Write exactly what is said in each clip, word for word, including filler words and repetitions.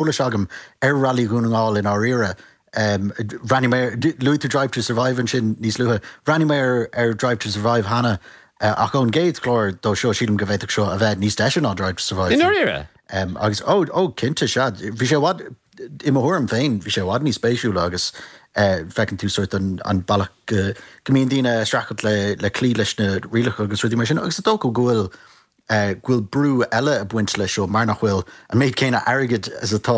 eolais agam ar Railí Dhún na nGall i ndáiríre. Um, Bhreathnaigh mé luaigh tú Drive to Survive ansin níos luaithe. Bhreathnaigh mé ar, ar Drive to Survive cheana uh, ach ón gcéad chlár dó seo sílim go bhféadfadh seo a bheith níos deise ná Drive to Survive. I ndáiríre? Um, agus ó ó cinnte sea bhí sé bhfad i mo thuairim féin bhí sé i bhfad níos spéisiúla agus uh, feiceann tú sort an, an bealach go, go mbíonn daoine streachailt le, le cloí leis na rialacha agus rudaí mar sin agus is dócha go bhfuil uh, go bhfuil brú eile ag baint leis seo mar nach bhfuil an méid céanna airgid is atá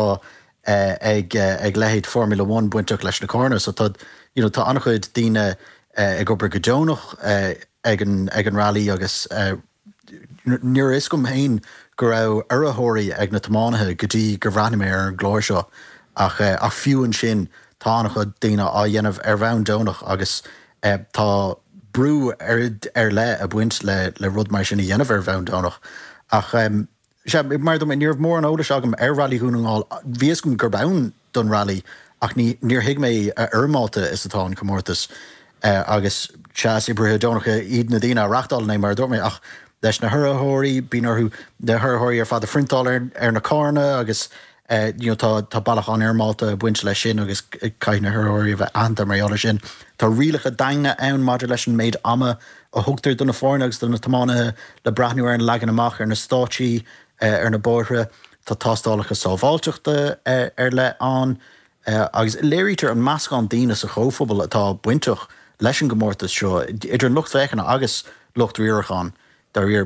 uh, ag, uh, ag leithéid Formula One bainteach leis na carranna so tá you know, tá an-chuid daoine uh, ag obair go deonach uh, ag an, ag an rally agus uh, ní raibh a fhios agam féin go raibh urraitheoirí ag na tiománaithe go dtí gur bhreathnaigh mé ar an gclár seo ach uh, ach fiú ansin tá an-chuid daoine á dhéanamh ar bhonn deonach agus uh, tá brú ar, ar leith ag baint le, le rud mar sin a dhéanamh ar bhonn deonach ach um, sé mar dom ní raibh mórán eolais agam ar Railí Dhún na nGall bhí a fhios agam gurb ann don rally ach ní níor thuig mé a fhoirmeálta is atá an comórtas uh, agus sea is oibrithe deonacha iad na daoine a reáchtálann é mar dúirt mé ach leis na hurraitheoirí bíonn orthu na hurraitheoirí ar fad a phriontáil ar, ar na carranna agus uh, you know, tá tá bealach an-fhoirmeálta ag baint leis sin agus caithfidh na hurraitheoirí a bheith aitheanta mar gheall sin. Tá rialacha daingne ann maidir leis an méid ama a thugtar do na foirne agus do na tiománaithe le breathnú ar an leagan amach ar na stáitsí uh, ar na bóithre, Tá tástálacha sábháilteachta uh, ar leith ann uh, agus léirítear an meascán daoine sa chomhphobal atá bainteach leis an gcomórtas seo idir lucht féachana agus lucht riaracháin. Dar